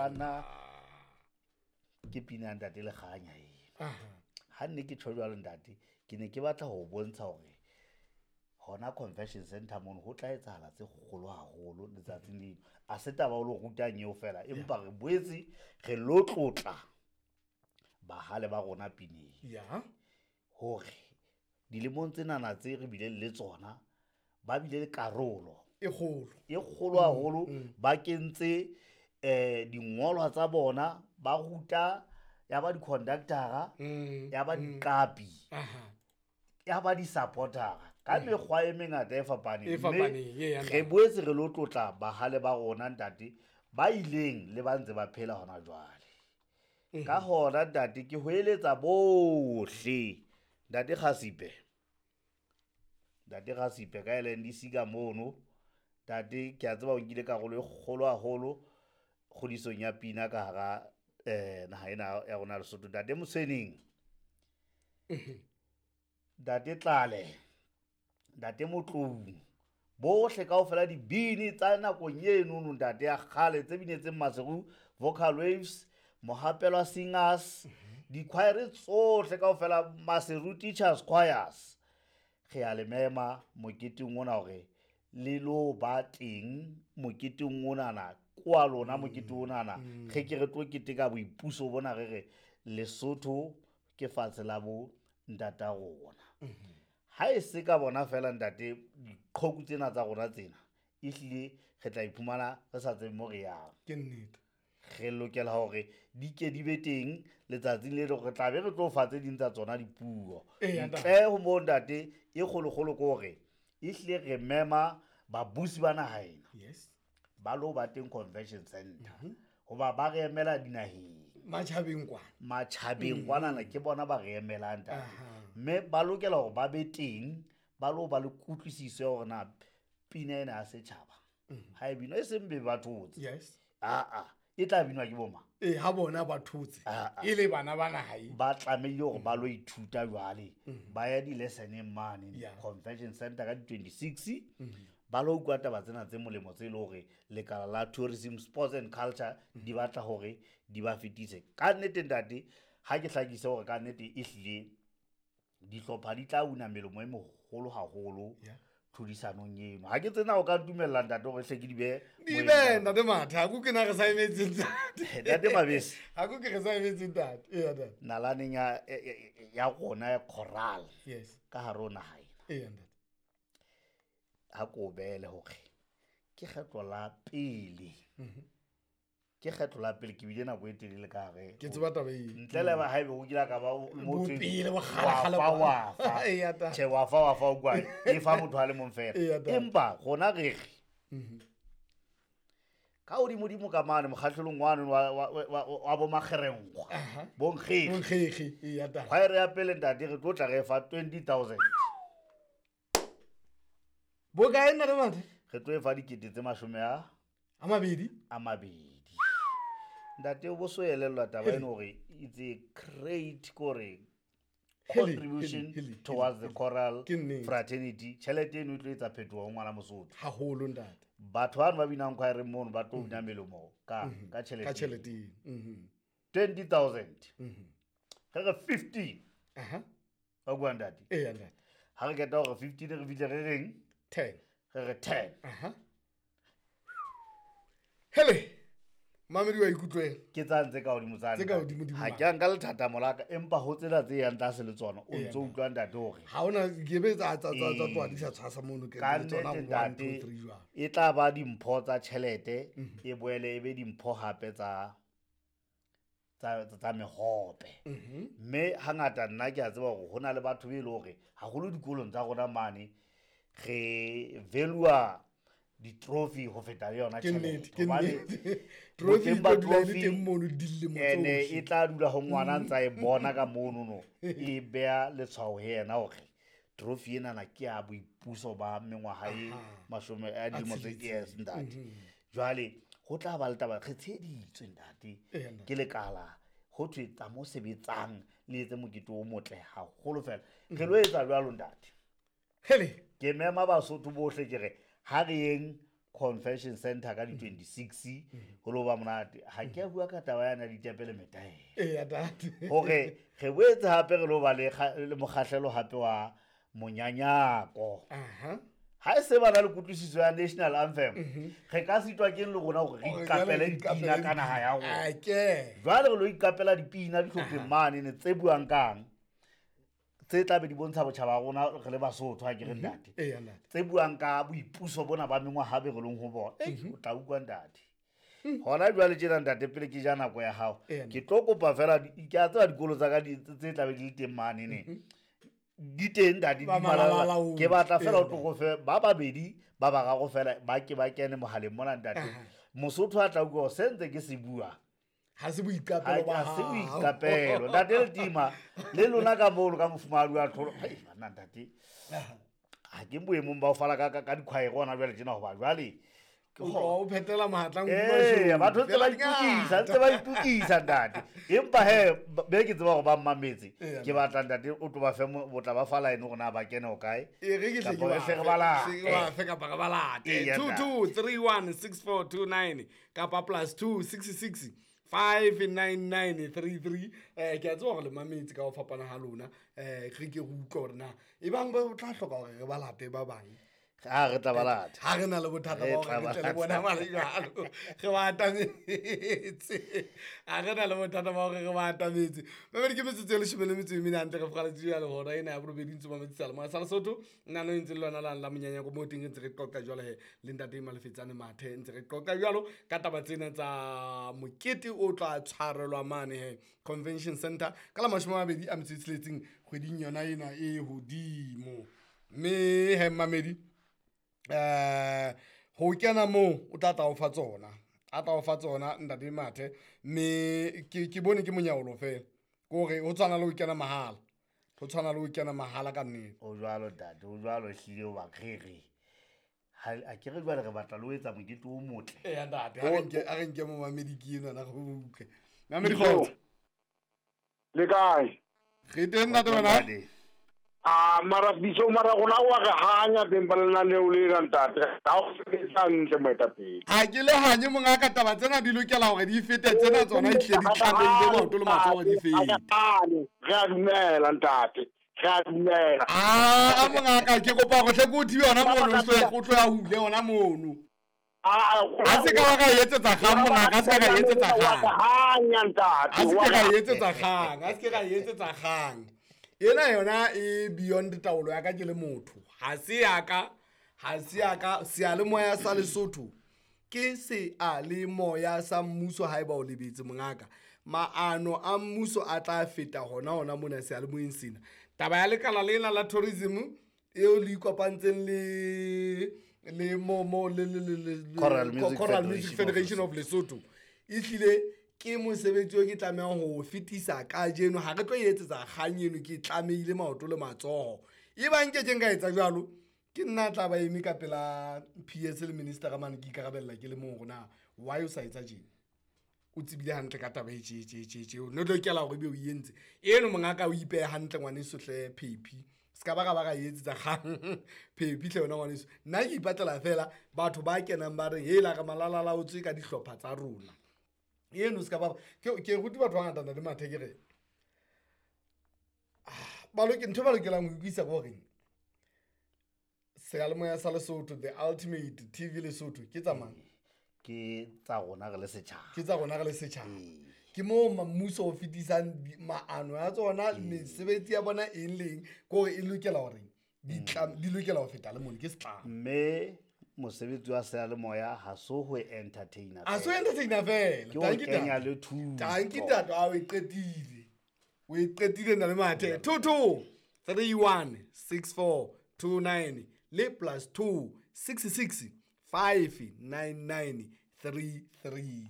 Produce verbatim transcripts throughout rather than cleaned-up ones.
Rona. Ke pina ya ntate Lekganya eno. Ha nne ke tjho jwalo ntate, ke ne ke batla ho bontsha hore hona convention center mono ho tla etsahala tse kgolo haholo letsatsing leno. A se taba o lo rutang eo fela, empa re boetse re lo tlotla bahale ba rona pineng. Ya. Hore dilemong tsenana tse re bileng le tsona, ba bile le karolo e kgolo. E kgolo haholo, ba kentse eh dingolwa tsa bona, ba ruta ya ba di-conductor-a, ya ba diqapi, ya ba di-supporter-a ka mekgwa e mengata e fapaneng. E fapaneng, Mme e ya re boetse re lo tlotla bahale ba rona ntate, ba ileng le ba ntse ba phela hona jwale. Ka hona ntate ke ho eletsa bohle. Ntate Kgasipe, ntate Kgasipe ka L N D C ka mono, ntate ke a tseba o nkile karolo e kgolo haholo kgodisong ya pina ka hara, eh, naha ena ya rona Lesotho. Ntate Motshweneng, ntate Tlale, ntate Motloung, bohle kaofela dibini tsa nakong eno ntate ya kgale tse binetseng Maseru Vocal Waves, Mohapelwa Singers, di-choir tsohle kaofela, Maseru Teachers Choirs. Re a le mema moketeng ona hore le lo ba teng moketeng onana, kwa lona mokete onana. Re ke re tlo keteka boipuso bona, re re Lesotho ke fatshe la bo ntata rona. Ha e se ka bona fela ntate, diqhoku tsena tsa rona tsena, ehlile re tla iphumana re sa tsebe mo re yang. Ke nnete. Re lokela hore di ke di be teng letsatsing le leng, re tla be re tlo fa tse ding tsa tsona dipuo. Eya, ntate. Ntle ho moo ntate, e kgolokgolo ke hore ehlile re mema babusi ba naha ena. Yes. Ba lo ba teng convention center. Mhm. Hoba ba re emela dinaheng. Matjhabeng kwana. Matjhabeng Mm. kwanana ke bona ba re emelang ntate. Aha. Mme ba lokela hore ba be teng, ba lo ba le kutlwisiso ya hore na pina ena ya setjhaba. Mm. Ha e binwa, e seng be ba thotse. Yes. Ah, ah. E tla binwa ke bo mang? Eh, ha bona ba thotse. Ah, ah. E le bana ba naha e. Ba tlamehile hore ba lo ithuta jwale. Mm. Ba ya di-lessoneng mane, Yeah. convention center ka di-twenty-six. Mm. Ba lo utlwa taba tsena tse molemo tse leng hore lekala la tourism, sports and culture di batla hore di ba fetise. Ka nnete ntate, ha ke hlakise hore ka nnete ehlile dihlopha di tla una melemo e meholo haholo Yeah. tlhodisanong eno. Ha ke tsena o ka ntumella ntate hore hle ke di behe Di moyeng behe, ka ntate Mathe, ha ko ke na re sa emetse ntate. Ntate Mabese. Ha ko ke re sa emetse ntate. Eya, ntate. Nalaneng ya, ya, ya, ya rona ya choral. Yes. Ka hare ho naha ena. Eya, ntate. Ha ko beele hore ke kgetlo la pele. Mhm. Ke kgetlo la pele ke bile nako e telele ka hare. Ke tseba taba eo. Ntle le ha ebe o kile ka ba o motho e Bopele, bo wa kgale-kgale fa, kwa. wa fa. Eya, ntate. Tjhe, wa fa, wa fa, o kwa. E fa motho a le mong fela. Eya, ntate. Empa rona re re, Mhm. ka hodimodimo ka mane mokgahlelong wane wa, wa, wa, wa, wa bo Makgerenkgwa. Aha. Bo Nkgekge. Bo Nkgekge, eya, ntate. Choir ya pele ntate re tlo tla re fa twenty thousand. Bo kae ntate Mathe? Re tlo e fa dikete tse mashome a A mabedi? A mabedi. Ntate o bo so elellwa taba eno hore it's a great kore Hele, contribution hele, hele, towards the hele. choral Ke nnete. fraternity. Tjhelete eno e tlo etsa phetoho ho ngwana Mosotho. Haholo ntate. Batho bano ba binang choir mono ba tlo una melemo ka, Mhm. ka tjhelete. Ka tjhelete eno. Mhm. twenty thousand. Mhm. Re re fifteen. Aha. Wa bua ntate? Eya, ntate. Ha re qeta hore fifteen re fihle re reng? Ten. Re re ten. Aha. Hele. Mamedi wa ikutlwela. Ke tsa ntse ka hodimo tsane. Tse ka hodimo-dimo Ha mane. ke a nka lethathamo la ka, empa ho tsena tse yang tlase le tsona, o Eya, ntso utlwa ntate hore Ha hona ke be tsa, tsa, tsa, tsa Ee. tloha di sa tshwasa mono, ke Ka le tsona nnete, one, ntate, two, three jwalo. e tla ba dimpho tsa tjhelete, Mhm. e boele e be dimpho hape tsa, tsa, tsa, tsa mehope. Mhm. Mme hangata nna ke a tseba hore ho na le batho be e leng hore haholo dikolong tsa rona mane re value-a di-trophy ho feta le yona Ke nnete, tjhelete. ke Hobane nnete. Trophy boteng e ba tlo dula e le trophy teng mono dilemo ene tsohle. e tla dula ho ngwana a ntsa e bona ka mono no, e beha letshwao ho yena hore trophy enana ke ya boipuso ba mengwaha e Aha. mashome a dilemo tse A tsheletseng. yes, ntate. Mhm. Jwale ho tla ba le taba, re tsheheditswe ntate Eya, ntate. ke lekala ho thwe tsa mo sebetsang le etse mokete o motle haholo fela. Re lo etsa jwalo ntate. Hele. Ke mema Basotho bohle ke re ha re yeng Convention Center ka di twenty-six ho lo ba monate. Ha ke a bua ka taba yana ditepe le metaele. Eya, ntate. Hore re boetse hape re lo ba le kga-, le mokgahlelo hape wa monyanyako. Aha. Ha e se ba na le kutlwisiso ya National Anthem, Mhm. re ka sitwa keng le rona hore re Hore iqapele jwale re dipina iqapele ka naha ya rona? A ke. Jwale re lo iqapela dipina dihlopheng Aha. mane ne tse buang kang, tse tla be di bontsha botjhaba ba rona re le Basotho, ha ke re Mhm. ntate. Eya, ntate. Tse buang ka boipuso bona ba mengwaha be re leng ho bona. Ei, Mhm. o tla utlwa ntate. Mm. Hona jwale tjena ntate, pele ke ja nako ya hao, Eya, ke ntate. tlo kopa fela di-, ke a tseba dikolo tsa ka di-, tse tla be di le teng mane ne. Mhm. Di teng ntate, di Ba malala. malalalaong. Ke batla fela Eya, o tlo go fe ba babedi, ba bararo fela, ba ke ba kene mohaleng mona ntate. Aha. Mosotho a tla utlwa hore se ntse ke se bua. Ha se boiqapelo ba Ha se hao. boiqapelo. Ntate Letima, le lona ka mono ka mofumahadi wa Tlholo. Hei, banna ntate. Aha. Ha ke boemong ba ho fala ka, ka, ka dikhwaere hona jwale tjena hoba jwale ke O ho- tloha o phetela mahatla Ee, nku batho ntse ba mashome. itokisa, ntse ba itokisa ntate. Empa he, ba-, be ke tseba hore ba mmametse. Eya, Ke batla ntate o tlo ba fe mo-, o tla ba fa line hore na ba kene ho kae. E re ke hle ke Kapa ba re hle re fe, ba late. hle ke ba fe kapa re ba late. Eya, Two, ntate. two, three, one, six, four, two, nine, kapa plus two, six, six, five, nine, nine, three, three. Eh, ke a tseba hore le mametse ka ho fapana ha lona. Eh, re ke re utlwe hore na ebang ba tla hloka hore re ba late ba bang. Ha re tla ba lata. Ha re na le bothata Re ba tla hore re ba tle le bona lata. mare jwalo. Re ba atametse. Ha re na le bothata ba hore re ba atametse. Mamedi ke metsotso e leshome le metso e mene hantle re fokgaletse jwale hora ena ya borobedi ntse mametse seyalemoya sa Lesotho. Nna no ntse le lona lane la monyanyako moo teng re ntse re qoqa jwalo he le ntate Malefetsane Mathe, ntse re qoqa jwalo ka taba tsena tsa mokete o tla tshwarelwa mane he Convention Center ka la mashome a mabedi a metso e tsheletseng kgweding yona ena e hodimo. Mme he mamedi, eh, ho kena moo o tla tla o fa tsona, a tla o fa tsona ntate Mathe, mme ke, ke bone ke monyaolo fela, ke hore ho tshwana le ho kena mahala, ho tshwana le ho kena mahala ka nnete. O jwalo ntate, o jwalo ehlile hoba re re. Ha, a ke re jwale re batla le ho etsa mokete o motle. Eya ntate, a re nke, a re nke momamedi ke enwana re utlwe. Mamedi Yo. kgotso. Le kae? Re teng ntate wena? Ntate. Ah, mara biso, mara rona wa re hanya teng ba lenaneo lena ntate. Ha o sebetsa hantle moetapele. Ha ke le hanye mongaka, taba tsena di lokela hore di fete tsena tsona di tle di tlamehile maoto le matsoho di fete. Re a dumela ntate. Re a dumela. Ah, a mongaka, ke kopa hore hle ke o thibe hona mono, o tlo, o tlo ya hule hona mono. Ah, A se ka wa ka etsetsa kgang mongaka, a se ka ka etsetsa kgang. Hanya ntate. A se ke ka etsetsa kgang, a se ke ka etsetsa kgang. Ena yona e beyond taolo ya ka ke le motho. Ha se ya ka, ha se ya ka, seyalemoya sa Lesotho ke seyalemoya sa mmuso haeba o lebetse mongaka. Maano a mmuso a tla feta hona hona mona seyalemoyeng sena. Taba ya lekala lena la tourism eo le ikopantseng le, le mo, mo, le, le, le, le, le, Choral Music Choral Music Federation Federation of Lesotho. Ehlile ke mosebetsi o ke tlamehang ho o fetisa kajeno. Ha re tlo e etsetsa kgang eno, ke tlamehile maoto le matsoho. Ebang nke ke nka etsa jwalo, ke nna tla ba eme ka pela P S le minister ka mane ke ikarabella ke le mong hore na why o sa etsa tjena. O tsebile hantle ka taba e tje, tje, tje, tje. O no lokela hore ebe o e entse. Eno mongaka o ipehe hantle ngwaneso hle Phephi. Se ka ba ra ba ra e etsetsa kgang. Phephi hle wena ngwaneso. Nna ke ipatlela fela batho ba kenang ba re, hela re malalala o tswe ka dihlopha tsa rona. Eno se ka ba, ke, ke rute batho ba bangata ntate Mathe ke re, ah, ba loke-, ntho e ba lokelang ho utlwisisa ke hore seyalemoya sa Lesotho, the ultimate T V Lesotho, ke tsa mang? Ke tsa rona re le setjhaba. Ke tsa rona re le setjhaba. Ee. Ke moo ma-, mmuso o fetisang di-, maano a tsona, Ee. mesebetsi ya bona eng le eng, ke hore e lokela hore di Mm. tla-, di lokela ho feta le mono, ke setlamo. Mme mosebetsi wa seyalemoya ha so ho entertainer Ha so fela. entertainer fela. Ke ho Tanki kenya ntate. le thuto. Tanki ntate, a o e qetile. O e qetile nna le Mathe. Two, two, three, one, six, four, two, nine, le plus two, six, six, five, nine, nine, three, three.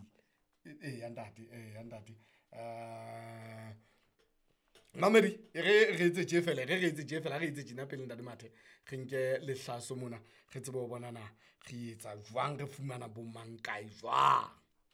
Eh, ya ntate, eh, ya ntate. Eh, Mamedi, e re re etse tje fela, re re etse tje fela, re etse tjena pele ntate Mathe. Re nke lehlaso mona, re tsebe ho bona na re etsa jwang, re fumana bo mang kae jwang.